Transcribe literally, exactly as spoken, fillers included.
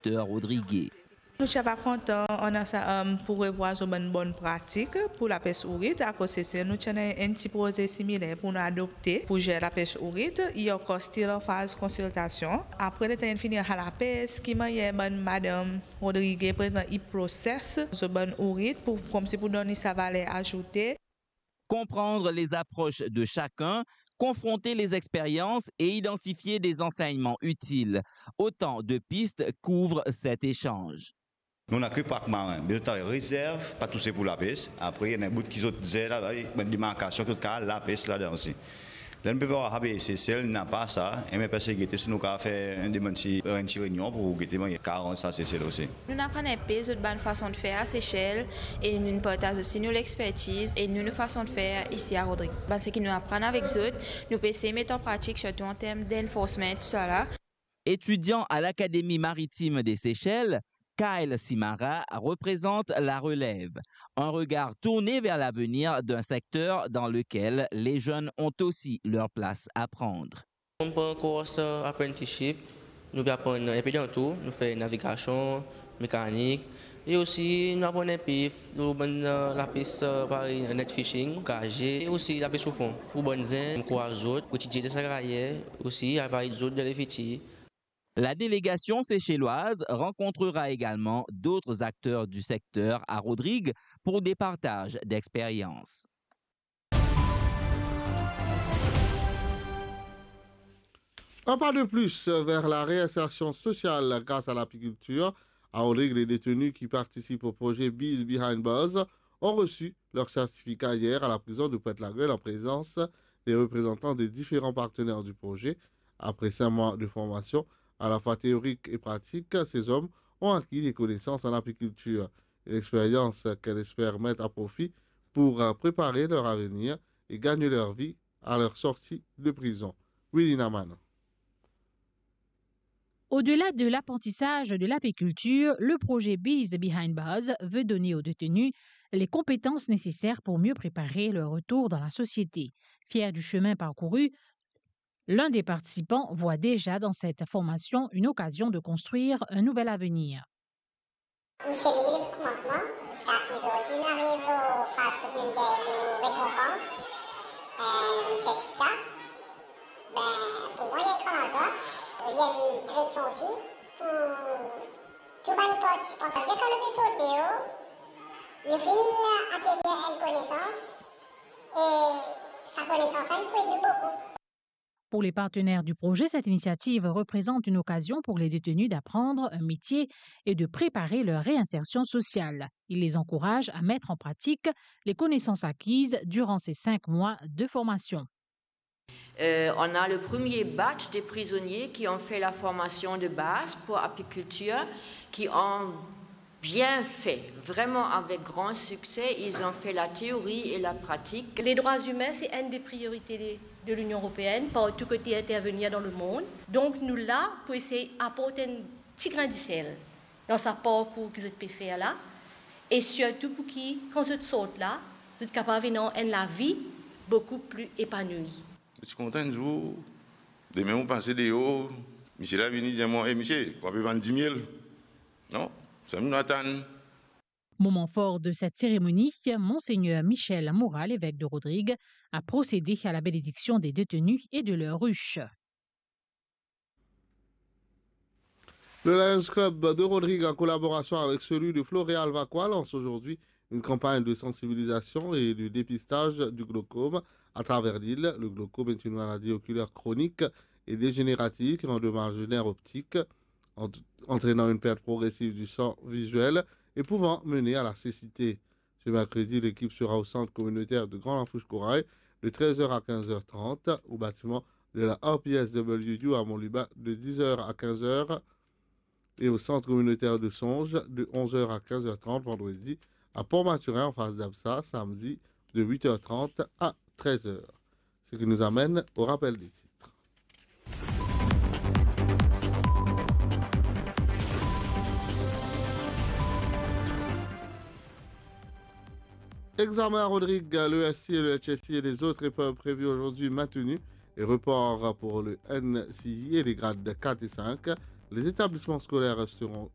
Docteur Rodriguez. Nou ti ava kontan ann sa, um, pou revwar zot bann bonn pratik pou lapes ourit, akoz Sesel nou ti ena enn ti proze similer pou nou adopte pou zer lapes ourit, li ankor still an faz konsiltasion. Apre letan inn fini ar lapes, ki manier bann madanm Rodriguez prezan inn proses zot bann ourit pou, koumsi pou donn li sa valer azoute. Comprendre les approches de chacun, confronter les expériences et identifier des enseignements utiles. Autant de pistes qu'ouvrent cet échange. Nou ena ke park marin, me zot ena rezerv, pa touse pou lapes. Apre, ena enn bout ki zot zer la, la, bann demarkasion ki zot kapav lapes ladan osi. Ler nou pe vwar sa pe Sesel, napa sa, e me pe se gete si nou kapav fer enn demann si, enn ti reynion pou gete, bon, karan sa Sesel osi. Nou'nn aprann enpe zot bann fason de fer a Sesel e nou'nn partaz osi nou lexpertiz e nou, nou fason de fer isi a Rodrig. Bann seki nou aprann avek zot, nou pe esey met an pratik, sirtou an term d'enforcement, tousala. Étudiant à l'Académie maritime des Seychelles, Kyle Simara représente la relève, un regard tourné vers l'avenir d'un secteur dans lequel les jeunes ont aussi leur place à prendre. Nou pran kours, euh, apprenticeship, nou pe aprann enpe dan tou, nou fer navigasion, mekanik, e osi nou aprann enpe lor bann, euh, lapes, euh, parey net fishing, gaze, e osi lapes o fon. Pou bann zenn, ankouraz zot pou etidie dan sa karyer, osi ava ed zot dan lefitir. La délégation seychelloise rencontrera également d'autres acteurs du secteur à Rodrigues pour des partages d'expériences. Un pas de plus vers la réinsertion sociale grâce à l'apiculture. À Rodrigues, les détenus qui participent au projet Bees Behind Bars ont reçu leur certificat hier à la prison de Pointe-Lagueule en présence des représentants des différents partenaires du projet. Après cinq mois de formation, à la fois théorique et pratique, ces hommes ont acquis des connaissances en apiculture, une expérience qu'elles espèrent mettre à profit pour, euh, préparer leur avenir et gagner leur vie à leur sortie de prison. Willy Naman. Au-delà de l'apprentissage de l'apiculture, le projet Bees Behind Bars veut donner aux détenus les compétences nécessaires pour mieux préparer leur retour dans la société. Fier du chemin parcouru, l'un des participants voit déjà dans cette formation une occasion de construire un nouvel avenir. Misie Midi depi koumansman, ziska ki zordi nou ariv lor faz kot nou gagn nou rekonpans, eh, nou sertifika. Be, pou mwa, li enn gran lazwa, li enn direksion osi pou tou bann partisipan. Savedir kan nou pe sort deor, nou finn akerir enn konesans, e sa konesans la, li pou ed nou boukou. Pour les partenaires du projet, cette initiative représente une occasion pour les détenus d'apprendre un métier et de préparer leur réinsertion sociale. Il les encourage à mettre en pratique les connaissances acquises durant ces cinq mois de formation. Euh, on a le premier batch des prisonniers qui ont fait la formation de base pour apiculture, qui ont bien fait, vraiment avec grand succès. Ils ont fait la théorie et la pratique. Les droits humains, c'est une des priorités de, de l'Union européenne, partou kot li intervenir dans le monde. Donk, nou la pou esey aport enn ti grin disel dan sa parkour ki zot pe fer la, e sirtou pou ki, kan zot sort la, zot kapav ena enn lavi boukou pli epanouir. Mo ti kontan enn zour, demin mo pase deor, misie la vini dir mwa, "E misie, ou pe vann dimiel?" Non, sa nou atann. Moment fort de cette cérémonie, Monseigneur Michel Moura, l'évêque de Rodrigues, a procédé à la bénédiction des détenus et de leurs ruches. Le Lions Club de Rodrigues, en collaboration avec celui de Floréal Vacoas, lance aujourd'hui une campagne de sensibilisation et de dépistage du glaucome à travers l'île. Le glaucome est une maladie oculaire chronique et dégénérative qui endommage le nerf optique, ent-, entraînant une perte progressive du champ visuel et pouvant mener à la cécité. Ce mercredi, l'équipe sera au centre communautaire de Grand Lafourche Corail de treize heures à quinze heures trente, au bâtiment de la R P S W U à Mont-Lubin de dix heures à quinze heures et au centre communautaire de Songe de onze heures à quinze heures trente vendredi, à Port-Mathurin en face d'A B S A samedi de huit heures trente à treize heures. Ce qui nous amène au rappel des titres. Examen à Rodrigues, le S C I et le H S C I et les autres épreuves prévues aujourd'hui maintenues et report pour le N C I et les grades quatre et cinq. Les établissements scolaires resteront